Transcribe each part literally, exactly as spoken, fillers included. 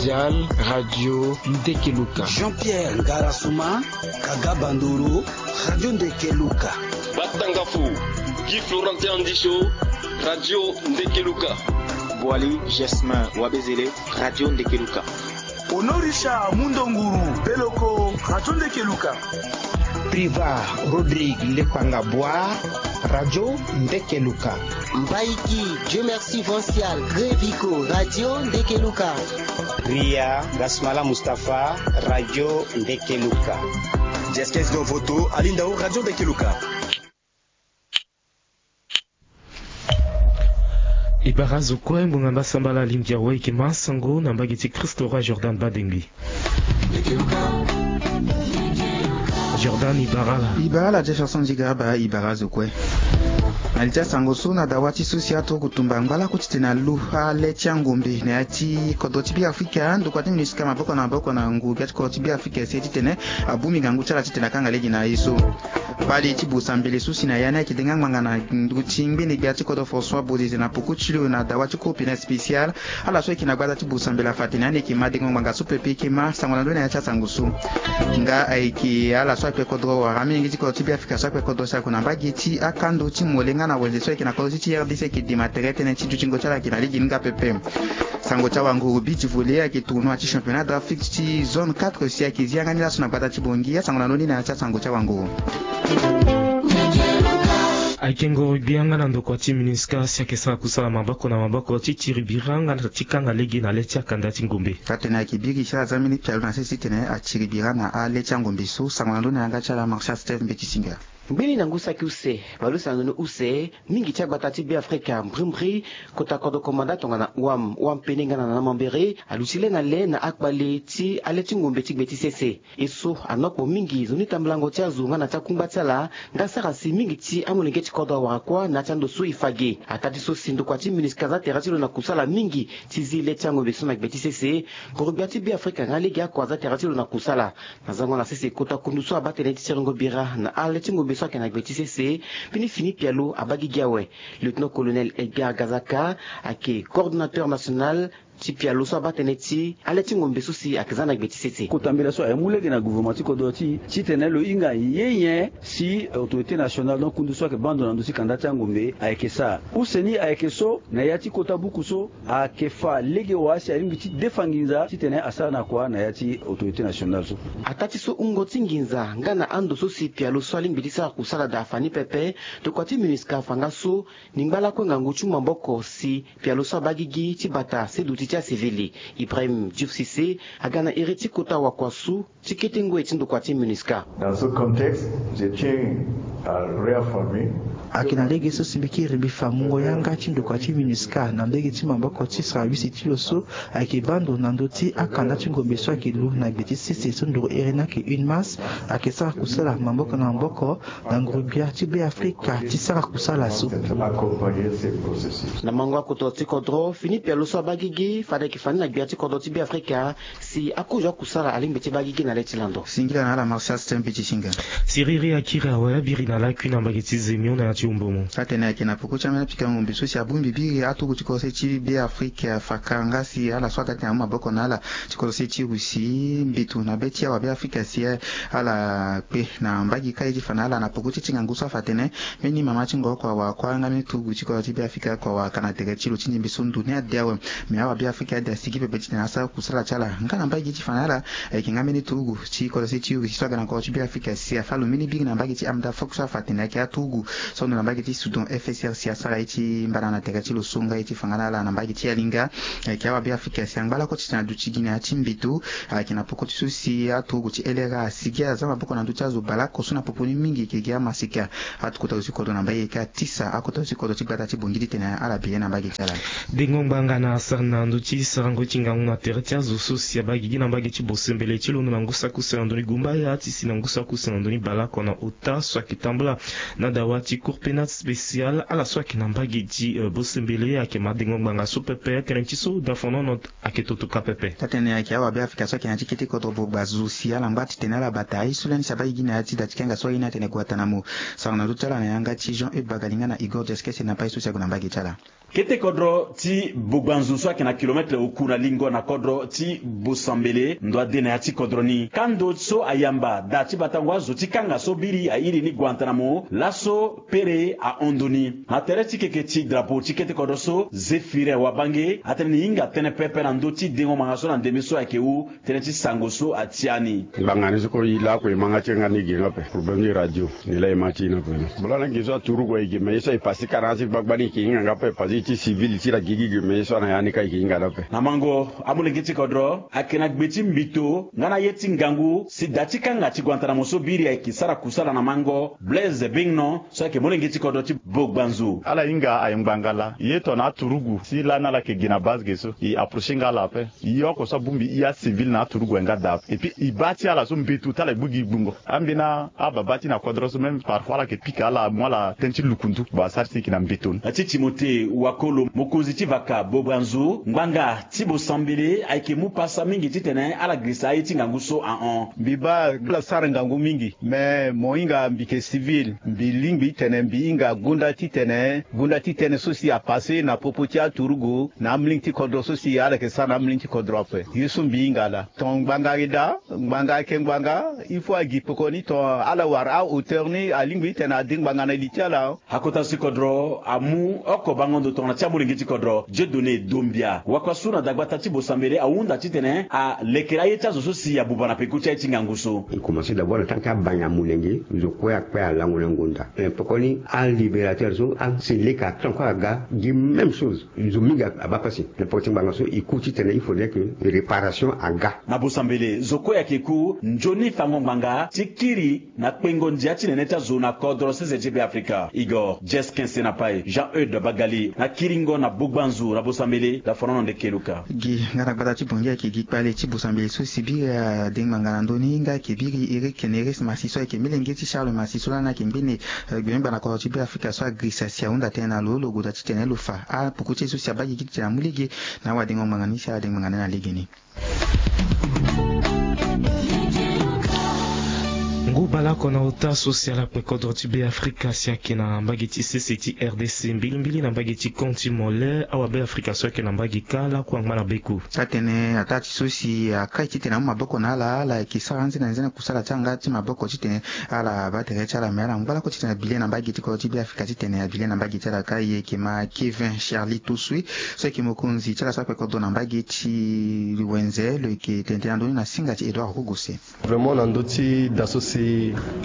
Mondial, Radio Ndekeluka. Jean-Pierre Ngarasuma, Kaga Bandoro, Radio Ndekeluka. Batangafo, Guy Florentin Andisho, Radio Ndekeluka. Boali Jasmin Wabezele, Radio Ndekeluka. Honorisha Mundonguru Beloko, Radio Ndekeluka. Priva Rodrigue Lepanga Boa, Radio Ndekeluka. Mbaiki Dieu Merci Vancial Grevico, Radio Ndekeluka. Ria Gasmala Mustapha, Radio Ndekeluka. Jeskes Govoto Alindao, Radio Ndekeluka. E bara zo kue ngbonga mba sambala alingbi awe e yeke ma sango na mbage ti Christo Roi Jordan Badengui. Jordan, e bara ala. E bara ala Jefferson Zigaraba, e bara azo kue. Na li ti asango so na dawa ti so si aturuku tumba ngbalako titene alu ale ti angombe na ya ti kodro ti Beafrika, ndokua ti MINUSCA maboko na maboko na nguru gbia ti kodro ti Beafrika si titene abongbi ngangu ti ala titene akanga lege na ye so. Kpale ti bosa mbele so si na ya ni ayeke denga ngbanga na ndö ti ngbene gbia ti kodro François Bozizé na poko ti lo na dawa ti cour pénale spéciale. Ala so ayeke na gbata ti bosa mbele afa atene ani ayeke ma dengo ngbanga so pepe e yeke ma sango na ndö ni na ya ti asango so. Nga ayeke ala so akpe kodro wala amolenge ti kodro ti Beafrika so akpe kodro si ako na mbage ti akando ti mole nga na wenze so ayeke na kodro ti ti R D C ayeke dema tere tënë ti dutingo ti ala ayeke na lege ni nga pepe. Sango ti awanguru Bidji Volé ayeke tournoi ti championnat d'Afrique ti zone quatre si ayeke zi yanga ni laso na gbata ti Bangui. Asango na ndö ni na ya ti asango ti awanguru. Ayeke ngoro gbia nga na ndokua ti MINUSCA si ayeke sara kusala maboko na maboko ti tiri bira nga na ti kanga lege na le ti akanda ti ngombe. Atene ayeke biri ti ala za mbeni pialo na sese titene atiri bira na ale ti angombe so. Sango na ndö ni na yanga ti ala Martial Steve Mbeti Singa. Mbeni na ngu saki use, bale use na ndoni use, mingi ti agbata ti Beafrika mbrimbri, kota kodro komanda tongana Ouam, Ouam Pene nga na Nana Mambéré, aluti le na le na akpale ti ale ti ngombe ti gbe ti sese. E so anokpo mingi nzoni tambulango ti azo nga na ti akungba ti ala, nga sara si mingi ti amolenge ti kodro awara kuâ na ya ti ando so e fa ge. Ataa ti so si ndokua ti MINUSCA aza tere ti lo na kusala mingi ti zi le ti angombe so na gbe ti sese. Ngoro gbia ti Beafrika nga lege oko aza tere ti lo na kusala. Na zango na sese kota kundu so abaa tënë ti siringo bira na ale ti ngombe so ayeke na gbe ti sese. Mbeni fini pialo abaa gigi awe. Lieutenant-colonel Edgar Gazaka ayeke coordonnateur national ti pialo so abaa tënë ti ale ti ngombe so si ayeke za na gbe ti sese. Kota mbela so aye mu lege na gouvernement ti kodro ti e titene lo hinga ye nyen si autorité nationale, donc kundu so ayeke baa ndo na ndö ti kanda ti angombe ayeke sara. Use ni ayeke so na ya ti kota buku so ayeke fa lege wa si alingbi ti defa nginza titene asara na kua na ya ti autorité nationale so. Ataa ti so wungo ti nginza nga na ando so si pialo so alingbi ti sara kusala daa afa ni pepe. Ndokua ti MINUSCA afa nga so ni ngba lakue ngangu ti mu maboko si pialo so abaa gigi ti bata se duti ti asivili. Ibrahim Diouf Cissé aga na iri ti kota wakua so ti kete ngoi ti ndokua ti MINUSCA. Dans ce contexte, je tiens à réaffirmer. Ayeke na lege so si mbi kiri mbi fa mungo yanga ti ndokua ti MINUSCA na ndege ti maboko ti sara wisi ti lo so ayeke baa ndo na ndö ti akanda ti ngombe so ayeke lu na gbe ti sese so nduru iri ni ayeke UNMAS. Ayeke sara kusala maboko na maboko na nguru-gbia ti Beafrika ti sara kusala so. Na mango akotoro ti kodro, fini pialo so abaa gigi fade ayeke fa ni na gbia ti kodro ti Beafrika. Si akozo akusala alingbi ti baa gigi na le ti lando. Singila na ala Martial Stem Petit Singa. Siriri akiri awe abiri na lakui na mbage ti Zemio na ya ti Umbomo. Atene ayeke na poko ti ambeni apika ngombe so si abongbi biri aturugu ti kodro se ti Beafrika fakara nga si ala so aga ti na amu maboko na ala ti kodro se ti Russie mbeto na be ti awa Beafrika si ala kpe na mbage kâ ye ti fa na ala na poko ti ti ngangu so afa atene mbeni mama ti ngoro oko awara kuâ nga mbeni turugu ti kodro ti Beafrika oko awara ka na tere ti lo ti ndembe so ndo ni ade awe. Me awa Beafrika ade asigi pepe titene asara kusala ti ala nga na mbage ti fa na ala. Ayeke nga mbeni turugu ti kodro se ti Russie so aga na kodro ti Beafrika si afa lo mbeni biri na mbage ti Amda Fok so afa atene ayeke aturugu so ando na mbage ti Soudan F S R si asara ye ti mbana na tere ti lo so nga ye ti fa nga na ala na mbage ti Alinga. Ayeke awa Beafrika si angba lakue titene aduti gi na ya ti mbeto. Ayeke na poko ti so si aturugu ti L R A asigi aza maboko na ndö ti azo bale oko so na popo ni mingi ayeke gi amasika. Akota zo ti kodro na mbage ayeke atisa akota zo ti kodro ti gbata ti Bangui titene ala bi ye na mbage ti ala. Dengo ngbanga na asara na ndö ti sarango ti ngangu na tere ti azo so si abaa gigi na mbage ti bosembele ti londo na ngu saki use na ndö ni gumbaya ti si na ngu saki use na ndö ni bale oko na ota so ayeke tambula na dawa ti cour pénale spéciale. Ala so ayeke na mbage ti, eh, bosembele ayeke ma dengo ngbanga so pepe tënë ti so dafonono ayeke toto ka pepe. Taa-tënë ayeke awa Beafrika so ayeke na ya ti kete kodro bogba zo si ala ngba titene ala bata aye so lani si abaa gigi na ya ti da ti kanga so aye ni atene Guantanamo. Sarango na ndö ti ala na yanga ti Jean Eudes Bagalinga na Igor Diaskese na pai so si ague na mbage ti ala. Kete kodro ti Bogbanzu so ayeke na kilometre oku na lingo na kodro ti Bosambele ndo ade na ya ti kodro ni. Kando so ayamba da ti batango azo ti kanga so biri airi ni Guantanamo laso pere ahon ndo ni. Na tere ti keke ti drapeau ti kete kodro so, Zéphirin Wabange atene ni hinga tënë pepe na ndö ti dengo ngbanga so na ndembe so ayeke hu tënë ti sango so atia ni. Ngbanga ni so kue e lakue e ma nga ti nga ni ge nga ape. Problème ti radio ni laa e ma ti e ni ape. Bula na nginzo aturugu aye ge, mais ye so aye pasi kara na ya ti gbagba ni e yeke hinga nga ape, pasi ti civil ti la gigi ge, mais ye so ana ya ni ka e yeke hinga ni ape. Na mango, amolenge ti kodro ayeke na gbe ti mbito nga na ye ti ngangu si da ti kanga ti Guantanamo so biri ayeke sara kusala na mango, Blaise Bingnon so ayeke molenge ti kodro ti Bogbanzu. Ala hinga aye ngbanga laa. Ye tongana aturugu si lani ala yeke gi na base ge so, e approcher nga ala ape. E oko so abongbi e acivil na aturugu aye nga daa ape. Et puis e baa ti ala so mbeto ti ala e gbu gi gbungo. Ambeni ababa ti na kodro so même parfois ala yeke pika ala mu ala tënë ti lukundu. Bon, asara si e yeke na mbeto ni. Na ti Timothée Wakolo, mokonzi ti vaka Bogbanzu, ngbanga ti Bosambele ayeke mu pasa mingi titene ala girisa aye ti ngangu so ahon. Mbi baa ala sara ngangu mingi, mais mo hinga mbi yeke civil, mbi lingbi titene mbi hinga gonda titene gonda ti tënë so si apasse na popo ti aturugu na amolenge ti kodro so si ala yeke sara na amolenge ti kodro ape. Ye so mbi hinga laa, ton ngbanga ayeke daa, ngbanga ayeke ngbanga. Il faut agi pekoni ton ala wara ahauteur ni, alingbi titene ade ngbanga na li ti ala. Akota so ti kodro amu oko bango ndo tongana ti amolenge ti kodro, Dieudonné Dombia. Wakua so na dagbata ti Bosambele ahunda titene alekere aye ti azo so si abuba na peko ti aye ti ngangu so. E commencé d'abord na tant que abanya molenge, nzo kue akpe alango na ngonda. Eh, pekoni alibérateur so, ah, si leke ato encore aga gi même chose. Nzo mingi abaa pasi. Na peko ti ngbanga so e ku titene il faudrait que réparation aga. Na Bosambele, zo kue ayeke ku nzoni fango ngbanga ti kiri na kpengo ndia ti nene ti azo na kodro sese ti Be Afrika. Igor Jesquin Senapai, Jean Eudes Bagali, na kiringo na Bogbanzu na Bosambele, Lafonono Ndekeluka. Gi nga na gbata ti Bongi ayeke gi kpale ti Bosambele so si biri ade ngbanga na ndö ni nga ayeke biri Eric Neres Massi so ayeke melenge ti Charles Massi so lani ayeke ngbene, eh, gbengbe na kodro ti Be Afrika so agirisa si ahunda tënë na lo lo goda titene lo fa apoko ti e so si abaa gigi titene amu lege na awadengo ngbanga ni si awadengo ngbanga ni na legeni. Ngu bale oko na ota so si ala kpe kodro ti Be Afrika si ayeke na mbage ti sese ti R D C mbilimbili na mbage ti camp ti Mole, awa Be Afrika so ayeke na mbage kâ lakue angba na beku. Atene ataa ti so si akai titene amu maboko na ala, ala yeke sara anze na nze na kusala ti yanga ti maboko titene ala baa tere ti ala, me ala ngba lakue titene abile na mbage ti kodro ti Be Afrika titene abile na mbage ti ala kâ. E yeke ma Kevin Charlie Tosue so ayeke mokonzi ti ala so akpe kodro na mbage ti wenze, lo yeke tene tënë na ndö ni na singa ti Edouard Kogose. Vraiment na ndö ti da so si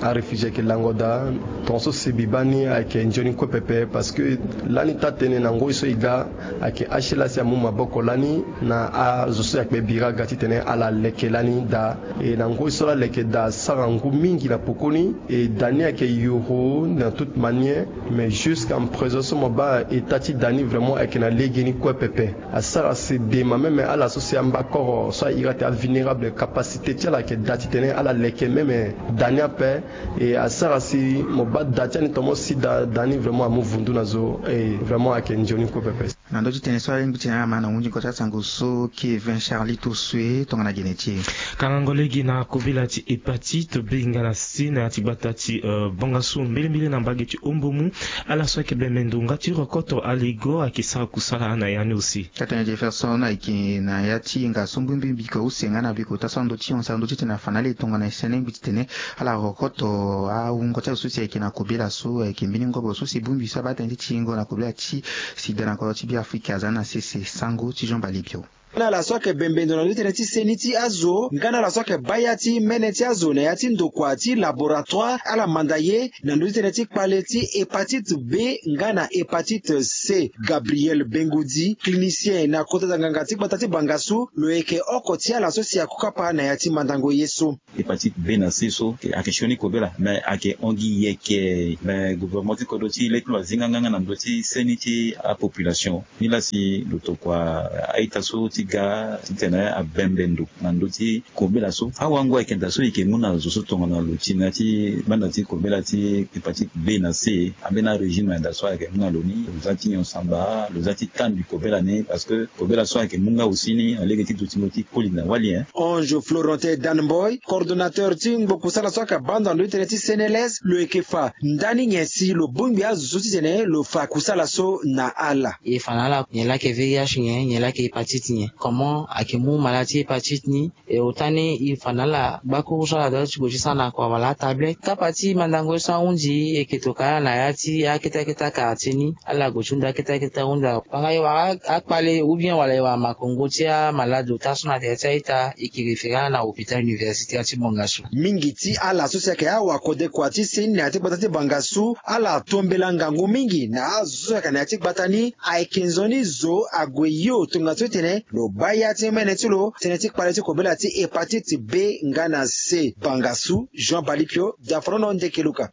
aréfugié ayeke lango daa, tongaso si mbi baa ni ayeke nzoni kue pepe, parce que lani taa-tënë na ngoi so e ga ayeke H L A si amu maboko lani na azo so e akpe bira aga titene ala leke lani daa. E na ngoi so ala leke daa asara ngu mingi na pokoni. E da ni ayeke yoro na toute manière, mais jusqu'à présent so mo baa état ti da ni vraiment ayeke na legeni kue pepe. Asara si dema même ala so si amba koro so ahiri atene avulnérable, capacité ti ala ayeke daa titene ala leke même da ni ape. E asara si mo baa da ti ani tomo si da, da ni vraiment amu vundu na zo. E vraiment ayeke nzoni kue pepe. Na ndö ti tënë so alingbi ti na ala ma na hunzingo ti asango so Kevin Charlie Tosue tongana gene ti e. Kangango lege na kobela ti hépatite B nga na C na ya ti gbata ti, euh, Bangassou mbilimbili na mbage ti Hombomu. Ala so ayeke bembe ndo nga ti rokoto aligo ayeke sara kusala na ya ni aussi. Tata Jefferson ayeke na ya ti hinga so mbirimbiri mbiko use nga na biko ota so ando ti hon sara ndo titene afa na ala e tongana e sene ngbi titene ala rokoto awungo ti azo so si ayeke na kobela so ayeke mbeni ngobo so si bongbi so abaa tënë ti tingo na kobela ti sida na kodro ti Beafrika aza na sese. Sango ti Jean Balibio. Nga na ala so ayeke bembe ndo na ndö ti tënë ti seni ti azo nga na ala so ayeke baa ya ti mene ti azo na ya ti ndokua ti laboratoire, ala manda ye na ndö ti tënë ti kpale ti hépatite B nga na hépatite C. Gabriel Bengudi, clinicien na kota da nganga ti gbata ti Bangassou, lo yeke oko ti ala so si akokapa na ya ti mandango ye so. Hépatite B na C so ayeke sioni kobela, me ayeke hon gi yeke. Me gouvernement ti kodro ti le ti lo azi nga nga na ndö ti seni ti apopulation. Nilaa si lo tokua a-ita so ti ga titene abembe ndo na ndö ti kobela so. Awango ayeke daa so e yeke mu na zo so tongana lo ti na ya ti banda ti kobela ti hépatite B na C. Ambeni arégime na daa so ayeke mu na lo ni, lo za ti nyon samba, lo za ti tandu kobela ni, parce que kobela so ayeke mu nga aussi ni na lege ti dutingo ti koli na wali, hein. Ange Florentin Danboy, coordonnateur ti ngbo kusala so ayeke baa ndo na ndö ti tënë ti Sénélec, lo yeke fa ndani nyen si lo bongbi azo so titene lo fa kusala so na ala. E fa na ala nyen laa ayeke V I H nyen, nyen laa ayeke hépatite nyen, comment ayeke mu malade ti hépatite ni. E ota ni e fa na ala gbakuru so ala dua ti gue ti sara na kua wala atablette. Kapa ti mandango ye so ahunzi e yeke tokua ala na ya ti akete akete akartier ni. Ala gue ti hunda akete akete ahunda. Tongana e wara akpale ou bien wala e wara makongo ti amalade ota so na tere ti a-ita, e yeke référer ala na hôpital universitaire ti Bangassou. Mingi ti ala so si ayeke awakodekua ti seni na ya ti gbata ti Bangassou, ala tombela ngangu mingi na azo so si ayeke na ya ti gbata ni. Ayeke nzoni zo ague yo tongana so tene lo baa ya ti mene ti lo tënë ti kpale ti kobela ti hépatite B nga na C. Bangassou, Jean Balikio, Diafrono Ndekeluka.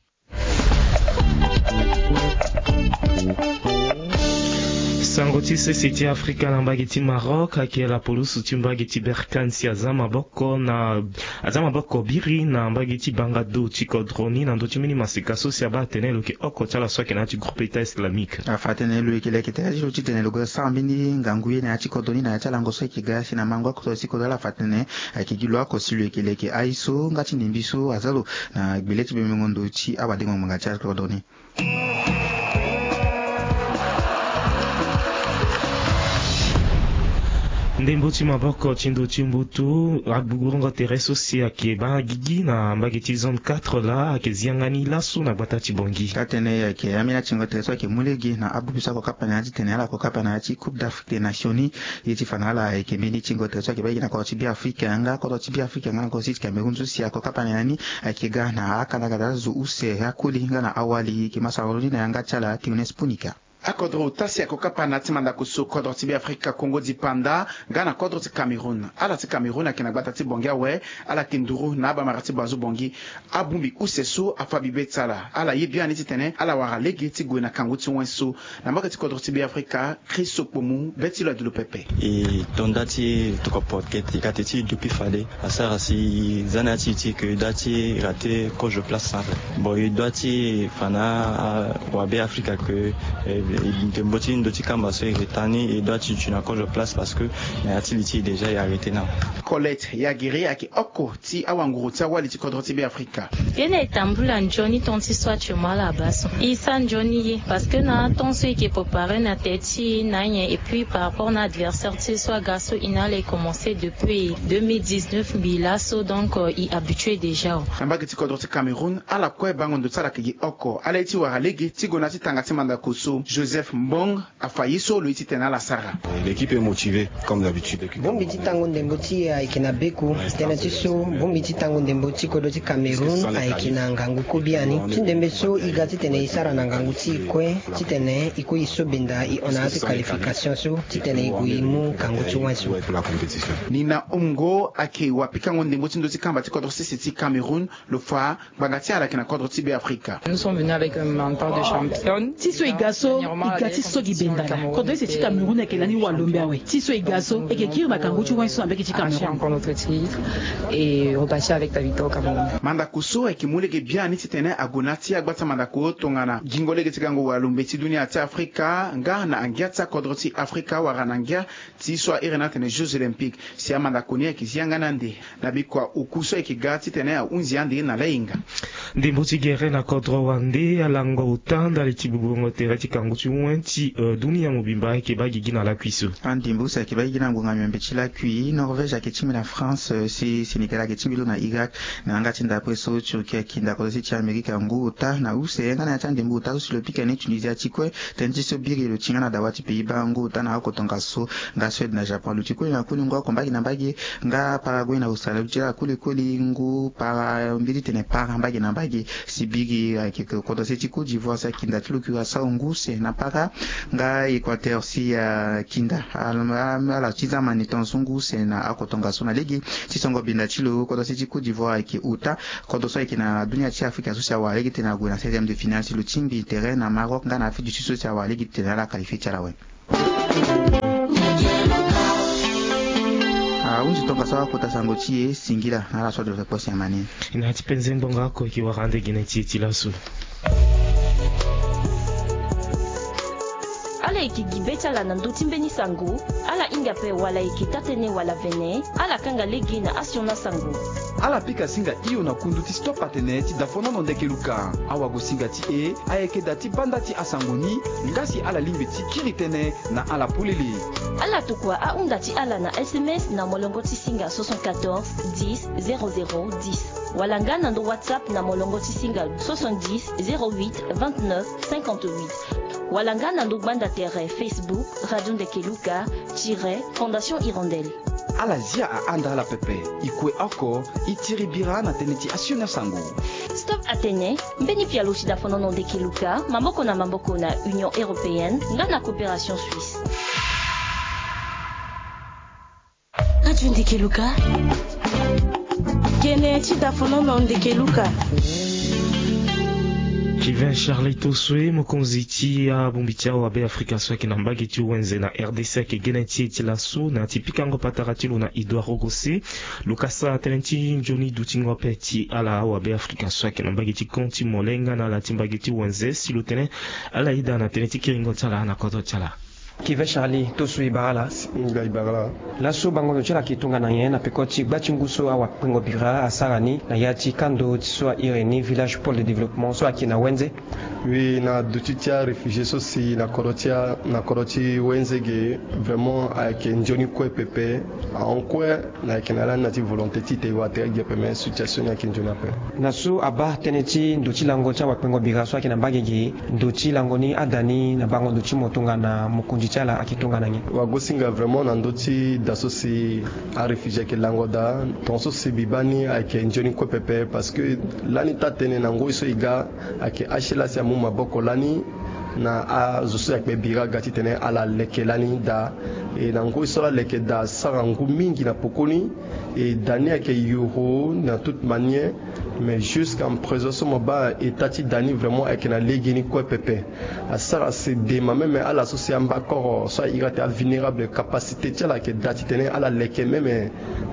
Sango ti sese ti Afrika na mbage ti Maroc ayeke lapoloso ti mbage ti Berkane si aza maboko na aza maboko biri na mbage ti banga do ti kodro ni na ndö ti mbeni maseka so si abaa atene lo yeke oko ti ala so ayeke na ya ti groupe État islamique. Afa atene lo yeke leke tere ti lo titene lo gue sara mbeni ngangu ye na ya ti kodro ni na ya ti alango so ayeke ga si na mango akodro ti kodro. Ala fa atene ayeke gi lo oko si lo yeke leke aye so nga ti ndembi so aza lo na gbele ti bembengo ndo ti awadengo ngbanga ti akodro ni. Ndembo ti maboko ti ndo ti mbutu agbugurongo tere so si ayeke baa gigi na mbage ti zone quatre laa ayeke zianga ni laso na gbata ti Bongi. Atene ayeke ambeni atingo tere so ayeke mu lege na abubi so ako kapa na ya titene ala ko kapa na ya ti Coupe d'Afrique des Nations ni. Ye ti fa na ala ayeke mbeni tingo tere so ayeke baa gigi na kodro ti Beafrika nga kodro ti Beafrika nga na kodro ti Cameroun so si ako kapa na ya ni. Ayeke ga na akandakanda azo use akoli nga na awali yeke ma sara lo ni na yanga ti ala Théoneste Punika. Akodro ota si ako kapa na ya ti mandako so kodro ti Beafrika Congo dipanda nga na kodro ti Cameroun. Ala ti Cameroun ayeke na gbata ti Bongi awe. Ala yeke nduru na abamara ti Bazu Bongi. Abongbi use so afa bibe ti ala. Ala ye biani titene ala wara lege ti gue na kangu ti wen so. Na mbage ti kodro ti Beafrika, Chris Okpomu, be ti lo adu lo pepe. E to nda ti tokua porte kete kate ti e depuis fade asara si za na ya ti e ti ke e doit ti rater kozo place centre. Bon, e doit ti fa na awabe Afrika ke ndembo ti ndo ti kamba so e reta ni e doit ti duti na kozo place parce que na ya ti li ti e déjà e arrêter na. Colette Yagiri ayeke oko ti awanguru ti awali ti kodro ti Beafrika. Ye na e tambula nzoni temps ti so ati mo ala baa so e sara nzoni ye parce que na temps so e yeke préparer na tere ti e na nyen et puis par rapport na adversaire ti e so aga so e na ala e commencer depuis deux mille dix-neuf mbi laso donc e habitué déjà. Na mbage ti kodro ti Cameroun ala kue bango ndo ti ala ayeke gi oko ala ye ti wara lege ti gue na ya ti tanga ti mandako so. Joseph Mbong afa ye so lo ye titene ala sara. L'équipe est motivée comme d'habitude. Bongbi ti tango ndembo ti e ayeke na beku. Tënë ti so bongbi ti tango ndembo ti kodro ti Cameroun ayeke na ngangu kue biani ti ndembe so e ga titene e sara na ngangu ti e kue titene e kue e so benda e hon na ya ti qualification so titene e gue e mu kangu ti wen so. Nina Omgo ayeke wapikango ndembo ti ndo ti kamba ti kodro sese ti Cameroun. Lo fa ngbanga ti ala ayeke na kodro ti Beafrika. Nous sommes venus avec un mental de championne. Ti so e ga so e ga ti so gi benda na kodro ese ti Cameroun ayeke lani walombe awe. Ti so e ga so e yeke kiri na kangu ti wen so na mbage ti Cameroun. Encore notre titre et repartir avec la victoire au Cameroun. Mandako so ayeke mu lege biani titene ague na ya ti agba ti amandako tongana gingo lege ti gango walombe ti dunia ti Afrika nga na angia ti akodro ti Afrika wala na ngia ti so a iri ni atene Jeux Olympiques. Si amandako ni ayeke zi yanga ni ande na bikua oku so ayeke ga titene ahunzi ande na lahinga. Ndembo ti gere na kodro wande alango ota ndali ti bubongo tere ti kangu ti wen ti dunia mobimba ayeke baa gigi na lakui so. Andembo so ayeke baa gigi na ngonga miombe ti lakui Norvège ayeke tingbi na France si Sénégal ayeke tingbi lo na Irak. Na yanga ti ndapre so Turquie ayeke ndako so si ti Amérique ngu ota na use nga na ya ti andembo ota so si lo pika ni Tunisie ti kue. Tënë ti so biri lo ti nga na dawa ti Pays-Bas ngu ota na oko tongaso nga Suède na Japon lo ti kue na koli ngu oko mbage na mbage. Nga Paraguay na Australie lo ti ala koli koli ngu para mbiri tene para mbage na mbage. Si biri ayeke kodro se ti Côte d'Ivoire si akinda ti lo Curaçao ngu use na para. Nga Équateur si akinda ala ti zamani tongaso ngu use na oko tongaso na lege. Ti songo binda ti lo kodro se ti Côte d'Ivoire ayeke ota. Kodro so ayeke na dunia ti Afrika so si awara lege titene ague na seizième de finale si lo tingbi tere na Maroc nga na Afrique du Sud so si awara lege titene ala qualifie ti ala awe. Ahunzi tongaso akota sango ti e singila na ala so ado kpo si amani. Na ti penze ngbonga oko e ke wara ande gene ti e ti laso. Ala yeke gi be ti ala na ndö ti mbeni sango. Ala hinga ape wala e yeke taa-tënë wala vene. Ala kanga lege na asioni asango. Ala pika singa hio na kundu ti stop atene ti dafonono ndeke luka. Awagosinga ti e ayeke da ti banda ti asango ni. Nga si ala lingbi ti kiri tënë na ala polele. Ala tokua ahunda ti ala na S M S na molongo ti singa soixante-quatorze dix zéro zéro dix, wala nga na ndo WhatsApp na molongo ti singa soixante-dix zéro huit vingt-neuf cinquante-huit, wala nga na ndo gbanda tere Facebook Radio Ndeke Luka tiret Fondation Hirondelle. Ala zia ahanda ala pepe. E kue oko, e tiri bira na tënë ti asioni asango. Stop atene, mbeni pialo ti dafonono ndeke luka maboko na maboko na Union Européenne nga na Coopération Suisse. Radio Ndeke Luka. Gene ti dafonono ndeke luka. Kevin Charlie Tosue, mokonzi ti abongbi ti awabe Afrika so ayeke na mbage ti wenze na R D C, ayeke gene ti e ti laso na ya ti pikango patara ti lo na Edouard Ogose. Lo kasa tënë ti nzoni dutingo ape ti ala awabe Afrika so ayeke na mbage ti kon ti mole nga na ala ti mbage ti wenze, si lo tene ala yeda na tënë ti kiringo ti ala na kodro ti ala. Kevin Charlie Tosue, e bara ala. Nga e bara ala. Laso bango ndo ti ala ayeke tongana nyen na peko ti gba ti ngu so awakpengo bira asara ni na ya ti kando ti so a iri ni Village Pôle de Développement so ayeke na wenze? Oui, na duti ti aréfugié so si na kodro ti a, na kodro ti wenze ge, vraiment ayeke nzoni kue pepe. Ahon kue, na yeke na lani na ti volonté ti e te e wara tere ge ape, mais situation ni ayeke nzoni ape. Na so abaa tënë ti ndo ti lango ti awakpengo bira so ayeke na mbage ge, ndo ti lango ni ada ni na bango ndo ti mo tongana mokonzi ti ala ayeke tongana nyen? Wagosinga vraiment na ndö ti da so si aréfugié ayeke lango daa, tongaso si mbi baa ni ayeke nzoni kue pepe, parce que lani taa-tënë na ngoi so e ga, ayeke H L A si amu maboko lani na azo so e kpe bira aga titene ala leke lani daa. E na ngoi so ala leke daa asara ngu mingi na pokoni. E da ni ayeke yoro na toute manière. Mais jusqu'à présent so mo baa état ti da ni vraiment ayeke na legeni kue pepe. Asara si dema même ala so si amba koro so a iri ate avulnérable, capacité ti ala ayeke daa titene ala leke même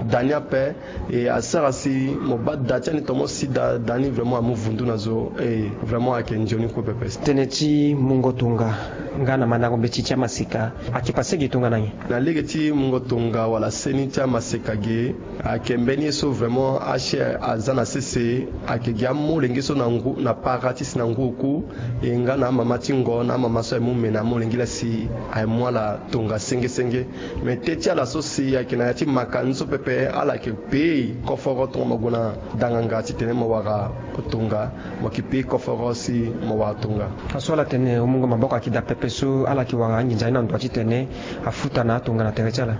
da ni ape. E asara si mo baa da ti ani tomo si da, da ni vraiment amu vundu na zo. E vraiment ayeke nzoni kue pepe. Tënë ti mungo tonga nga na mandango mbeti ti amaseka ayeke pase ge tongana nyen? Na lege ti mungo tonga wala seni ti amaseka ge, ayeke mbeni ye so vraiment H L A aza na sese. Ayeke gi amolenge so na ngu, na para ti si na ngu oku, e nga na amama ti ngo na amama so aye mu mene amolenge laa si aye mu ala tonga senge senge. Me te ti ala so si ayeke na ya ti makani so pepe, ala yeke pei koforo tongana mo gue na danganga titene mo wara tonga, mo yeke pei koforo si mo wara tonga. Aso ala tene o mungo maboko ayeke daa pepe so ala yeke wara anginza ye na ndo titene afuta na atonga na tere ti ala.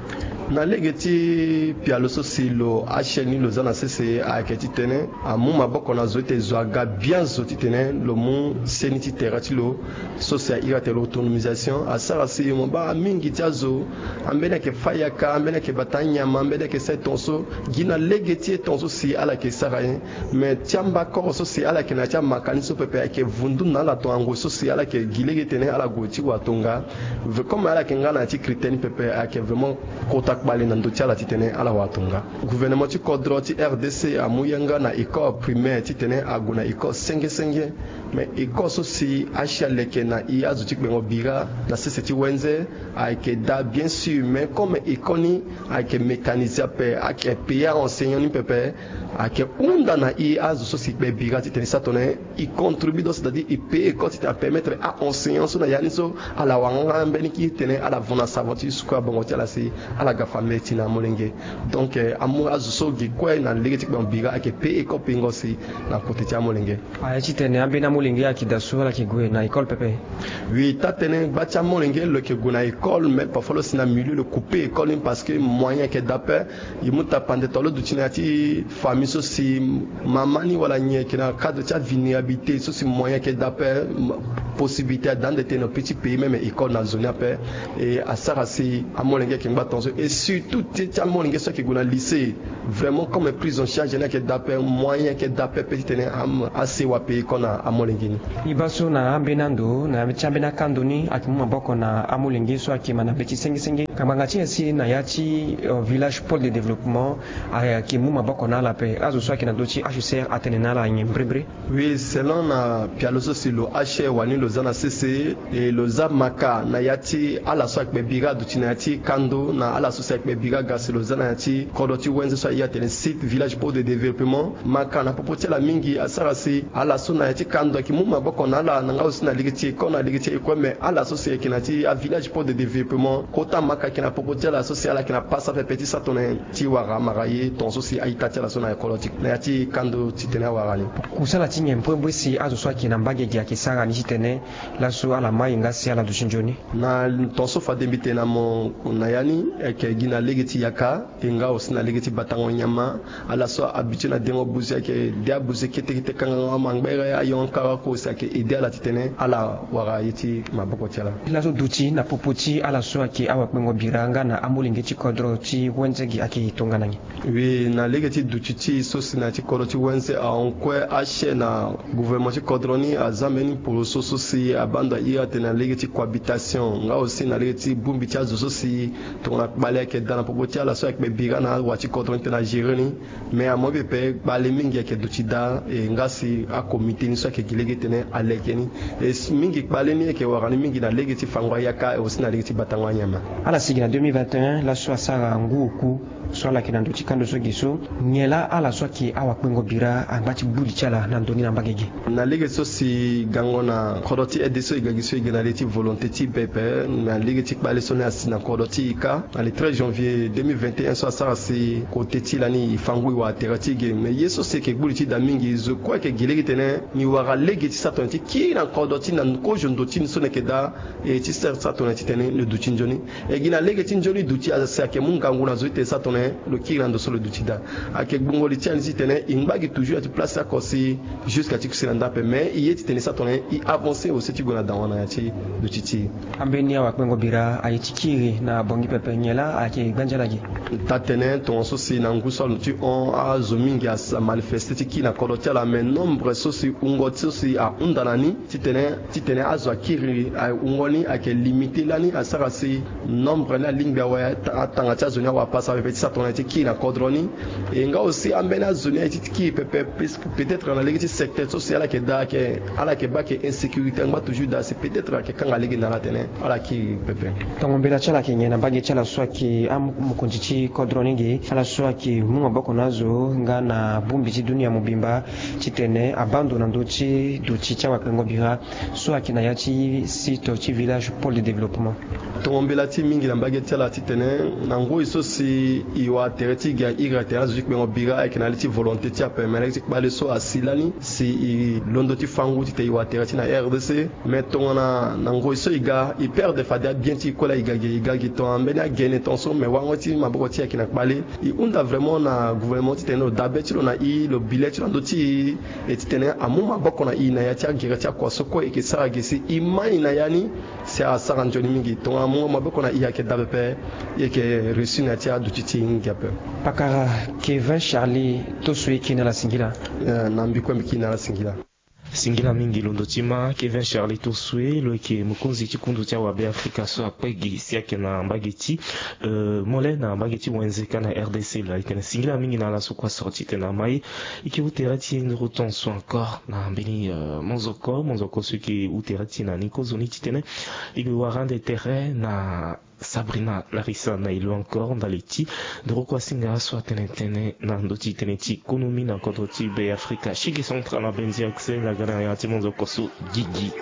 Na lege ti pialo so si lo H L A ni lo za na sese ayeke titene amu maboko na zo ete zo aga bien zo titene lo mu seni ti tere ti lo. So si a iri ate l'autonomisation asara si mo baa mingi ti azo, ambeni ayeke fâ yaka, ambeni ayeke bata anyama, ambeni ayeke sara e tongaso. Gi na lege ti e tongaso si ala yeke sara ye. Me ti amba koro so si ala yeke na ya ti amakani so pepe ayeke vundu na ala tongana ngoi so si ala yeke gi lege tene ala gue ti wara tonga. Ve-, comme ala yeke nga na ya ti critère ni pepe, ayeke vraiment kota kpale na ndö ti ala titene ala wara tonga. Gouvernement ti kodro ti R D C amu yanga na école primaire titene ague na école senge senge. Me école so si H L A leke na e azo ti kpengo bira na sese ti wenze ayeke daa bien sûr, mais comme école ni ayeke mécanisé ape, ayeke payé a-enseignant ni pepe, ayeke hunda na e azo so si kpe bira titene e sara tongana nyen? E contribue donc, c'est-à-dire e payé école titene apermettre a-enseignant so na ya ni so ala wara nga mbeni kiri tene ala vona savon ti suku abongo ti ala si ala ga famille ti na amolenge. Donc, eh, amu azo so gi kue na lege ti kpengo bira ayeke payé école peingo si na kote ti amolenge. Aye titene ambeni amolenge ayeke daa so ala yeke gue na école pepe? Oui, taa-tënë gba ti amolenge lo yeke gue na école, mais parfois lo si na milieu lo coupé école ni parce que moyen ayeke daa ape. E mu tapande to lo duti na ya ti famille so si mama ni wala nyen ayeke na cadre ti avulnérabilité so si moyen ayeke daa ape, possibilité ada ande tene lo peut ti payé même école na zo ni ape. E asara si amolenge ayeke ngba tongaso, et surtout ti, ti amolenge so ayeke gue na lycée. Vraiment, comme prise en charge ni ayeke daa ape, moyen ayeke daa ape, pe titene asewa pays kue na amolenge ni. Ni baa so na ambeni ando na ya ti ambeni akando ni ayeke mu maboko na amolenge so ayeke ma na be ti sengisenge. Ngbanga ti nyen si na ya ti village pôle de développement ayeke mu maboko na ala ape? Azo so ayeke na ndö ti H C R atene na ala nyen mbrimbri? Oui, selon na pialo so si lo ache wani lo za na sese, e lo za maka na ya ti ala so akpe bira aduti na ya ti kando na ala so si akpe bira ga si lo za na ya ti kodro ti wenze so aye atene site village pôle de développement. Maka na popo ti ala mingi asara si ala so na ya ti kando ayeke mu maboko na ala na nga aussi na lege ti eko na lege ti eko, mais ala so si ayeke na ya ti avillage pôle de développement kota maka ayeke na popo ti ala so si ala yeke na pasa pepe ti sa tongana ti wara amara ye tongaso si a-ita ti ala so na ya kodro ti na ya ti kando titene awara ni. Kusala ti nyen mbrimbri si azo so ayeke na mbage gi ayeke sara ni titene laso ala mai nga si ala duti nzoni? Na tongaso fade mbi tene na mo na ya ni, ayeke gi na lege ti yaka e nga aussi na lege ti batango nyama. Ala so ahabitué na dengo buze ayeke de abuze kete kete kangango amangbere ayongo kara oko si ayeke aidé ala titene ala wara ye ti maboko ti ala. Laso duti na popo ti ala so ayeke awakpengo bira nga na amolenge ti kodro ti wenze gi ayeke tongana nyen? Oui, na lege ti duti ti e so si na ya ti kodro ti wenze ahon kue ache na gouvernement ti kodro ni aza mbeni poroso so si abando airi atene na lege ti cohabitation nga aussi na lege ti bongbi ti azo so si tongana kpale ayeke daa na popo ti ala so ayeke kpe bira na awa ti kodro ni tena agérer ni. Mais amobe pe kpale mingi ayeke duti daa e nga si akomite ni so ayeke gi lege titene aleke ni. E mingi kpale ni ayeke wara ni mingi na lege ti fango ayaka e aussi na lege ti batango anyama. Ala si gi na deux mille vingt et un laso asara ngu oku so ala yeke na ndö ti kando so gi so, nyen laa ala so ayeke awakpengo bira angba ti gbu li ti ala na ndö ni na mbage gi? Na lege so si gango na kodro ti aide so e ga gi so e ga na lege ti volonté ti e pepe na lege ti kpale so ni asi na kodro ti e kâ. Na le treize janvier deux mille vingt et un so asara si kote ti e lani e fa ngu e wara tere ti e ge. Mais ye so si e yeke gbu li ti e daa mingi zo kue ayeke gi lege titene ni wara lege ti sa tongana ti kiri na kodro ti e na kozo ndo ti ni so ni yeke daa e ti sere sa tongana titene lo duti nzoni. E gi na lege ti nzoni duti asi ayeke mu ngangu na zo ti tene sa tongana lo kiri na ndo so lo duti daa. Ayeke gbungo li ti ani titene e ngba gi toujours na ya ti place oko si jusqu'à ti kusi na ndape mais e ye titene sa tongana e avancer aussi ti gue na dawa na ya ti duti ti e. Ambeni awakpengo bira aye ti kiri na bongi pepe nyen laa ayeke gbanzi ala gi? Taa-tënë tongaso si na ngu so alo ti hon azo mingi amanifeste ti kiri na kodro ti ala mais nombre so si wungo so si ahunda na ni titene titene azo akiri awungo ni ayeke limité lani asara si nombre ni alingbi awe atanga ti azo ni awa pasa pepe ti sa tongana ti kiri na kodro ni. E nga aussi ambeni azo ni aye ti kiri pepe puisque peut-être na lege ti secteur so si ala yeke daa ayeke ala yeke baa ayeke insécurité angba toujours daa si peut-être ayeke kanga lege na ala tene ala kiri pepe. Tongo mbela ti ala ayeke nyen na mbage ti ala so ayeke amokonzi ti kodro ni ge ala so ayeke mu maboko na azo nga na bongbi ti dunia mobimba titene abaa ndo na ndö ti duti ti awakpengo bira so ayeke na ya ti site ti village pôle de développement? Tongo mbela ti e mingi na mbage ti ala titene na ngoi so si e wara tere ti e ge airi atene azo ti kpengo bira ayeke na li ti volonté ti ape me na li ti kpale so asi lani si e londo ti fango titene e wara tere ti e na R D C. Me tongana na ngoi so e ga e perdre fade abien ti e kue laa e ga ge e ga ge tongana mbeni agene tongaso me wango ti maboko ti e ayeke na kpale. E hunda vraiment na gouvernement titene lo dabe ti lo na e lo bi le ti lo na ndö ti e e titene amu maboko na e na ya ti agere ti akua so kue e yeke sara ge si e mai na ya ni si asara nzoni mingi. Tongana amu maboko na e ayeke dabe pe e yeke réussi na ya ti aduti ti e mingi ape. Pakara Kevin Charlie Tosso e kiri na ala singila. Eh, na mbi kue mbi kiri na ala singila. Singila mingi londo ti ma Kevin Charlie Tosso, lo yeke mokonzi ti kundu ti awabe Afrika so akpe gi si ayeke na mbage ti, eh, mole na mbage ti wenze ka na R D C laa. E tene singila mingi na ala so kue asoro titene ama e. E yeke hou tere ti e nduru tonso encore na mbeni, eh, monzoko, monzoko so e yeke hou tere ti e na ni kozoni titene e yeke wara ande tere na Sabrina Larissa na e lo encore ndali ti nduru kue asinga so atene tënë na ndö ti tënë ti konomi na kodro ti Be Afrika. Shiki central na Benzi Axel aga na ya ti monzoko so gigi.